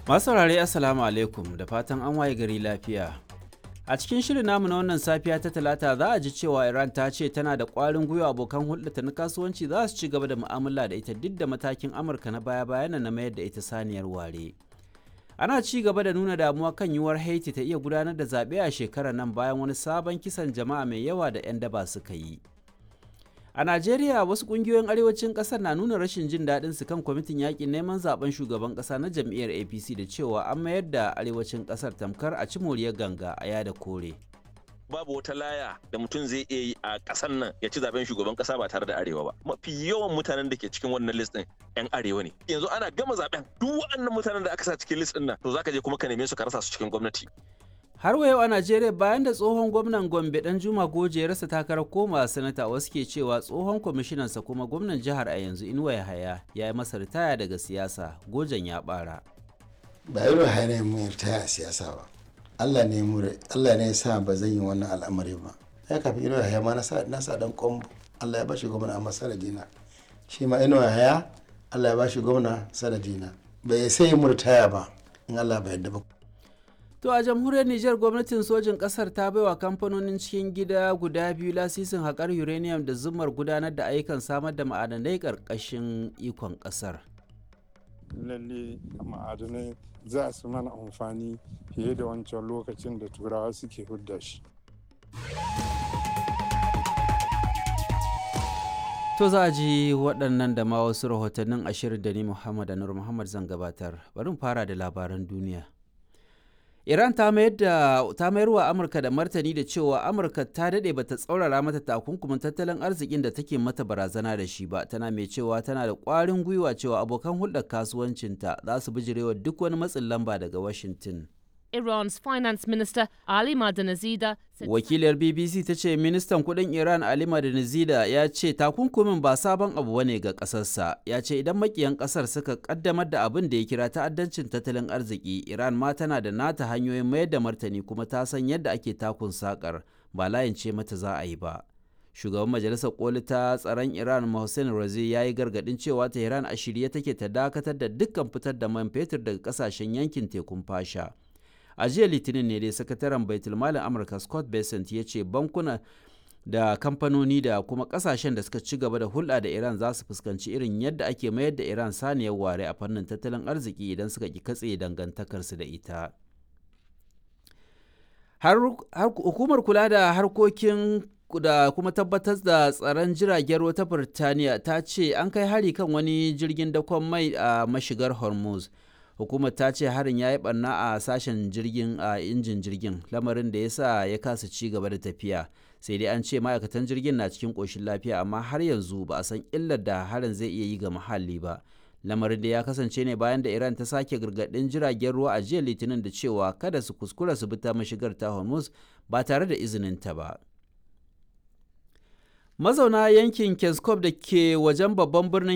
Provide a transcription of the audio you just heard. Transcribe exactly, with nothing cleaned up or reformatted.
Masu saurare, Assalamu alaikum, da fatan an waye gari lafiya. A cikin shirin namu na wannan safiya ta Talata, za a ji cewa Iran ta ce tana da ƙwarin gwiwa abokan hulɗata na kasuwanci za su ci gaba da mu'amala da ita duk da matakin Amurka na baya-bayan na mayar da ita saniyar ware. Ana ci gaba da nuna damuwa kan yiwuwar Haiti ta iya gudanar da zaɓe a shekarar nan bayan wani sabon kisan jama'a mai yawa da 'yan daba suka yi. A Najeriya, wasu ƙungiyoyin arewacin ƙasar na nuna rashin jin daɗin su kan kwamitin yaƙin neman zaben shugaban ƙasa na jam'iyyar A P C da cewa an mayar da arewacin ƙasar tamkar a ci moriyar ganga a yada kore. Babu wata laya da mutum zai iya yi a ƙasar nan ya ci zaben shugaban ƙasa ba tare da arewa ba. Mafi yawan mutanen da ke cikin wannan list ɗin yan arewa ne. Yanzu ana gama zaben, duk waɗannan mutanen da aka sa cikin list ɗin nan, to zaka je kuma ka neme su ka rasa su cikin gwamnati. Har wa yau a Najeriya, bayan da tsohon gwamnan Gombe Danjuma Goje ya rasa takarar koma sanata, wasu ke cewa tsohon kwamishinansa kuma gwamnan jihar a yanzu, Inuwa Yahaya, ya yi masa ritaya daga siyasa, Gojen ya bara. Ba Inuwa Yahaya ne mu ritaya a siyasa ba. Allah ne mu Allah ne ya sa ba zan yi wannan al'amari ba. Ya kafin Inuwa Yahaya ma na sa na sa dan kombo. Allah ya bashi gwamna amma sanadina. Shi ma Inuwa Yahaya Allah ya bashi gwamna sanadina. Bai sai mu ritaya ba in Allah bai yarda ba. To a jamhuriyar Nijar, gwamnatin sojin kasar ta baiwa kamfanonin cikin gida guda biyu lasisin haƙar uranium da zumar gudanar da ayyukan samar da ma'adanai ƙarƙashin ikon ƙasar. Lalle ma'adanai za su mana amfani fiye da wancan lokacin da Turawa suke hudda shi. To za a ji waɗannan da ma wasu rahotannin ashirin da ni Muhammad Anur Muhammad zan gabatar. Bari mu fara da labaran duniya. Iran ta mayar da ta mayar wa Amurka da martani da cewa Amurka ta dade bata tsaurara mata takunkumin tattalin arzikin da take mata barazana da shi ba, tana mai cewa tana da ƙwarin gwiwa cewa abokan hulɗar kasuwancinta za su bijirewa duk wani matsin lamba daga Washington. Iran's finance minister Ali Madanazida said Wakiliyar B B C ta ce ministan kudin Iran Ali Madanazida ya ce takunkumin ba sabon abu bane ga kasarsa. Ya ce idan makiyan kasar suka kaddamar da abin da ya kira ta'addancin tattalin arziki, Iran ma tana da nata hanyoyin mayar da martani kuma ta san yadda ake takun sakar, ba layin ce mata za a yi ba. Shugaban Majalisar Koli ta tsaron Iran Mohsen Razi ya yi gargadin cewa Tehran a shirye take ta dakatar da dukkan fitar da man fetur daga kasashen yankin tekun Fasha. A jiya Litinin ne dai sakataren baitulmalin Amurka Scott Bessent ya ce bankuna da kamfanoni da kuma kasashen da suka ci gaba da hulɗa da Iran za su fuskanci irin yadda ake mayar da Iran saniyar ware a fannin tattalin arziki idan suka ki katse dangantakarsu da ita. Har, hukumar kula da harkokin da kuma tabbatar da tsaron jiragen ruwa ta Birtaniya ta ce an kai hari kan wani jirgin dakon mai a mashigar Hormuz. Hukumar ta ce harin ya yi barna a sashen jirgin a injin jirgin, lamarin da ya sa ya kasa ci gaba da tafiya. Sai dai an ce ma'aikatan jirgin na cikin ƙoshin lafiya, amma har yanzu ba a san illar da harin zai iya yi ga muhalli ba. Lamarin da ya kasance ne bayan da Iran ta sake gargaɗin jiragen ruwa a jiya Litinin da cewa kada su kuskura su bi ta mashigar ta Hormuz ba tare da izinin ta ba. Mazauna yankin Keskov da ke wajen babban birnin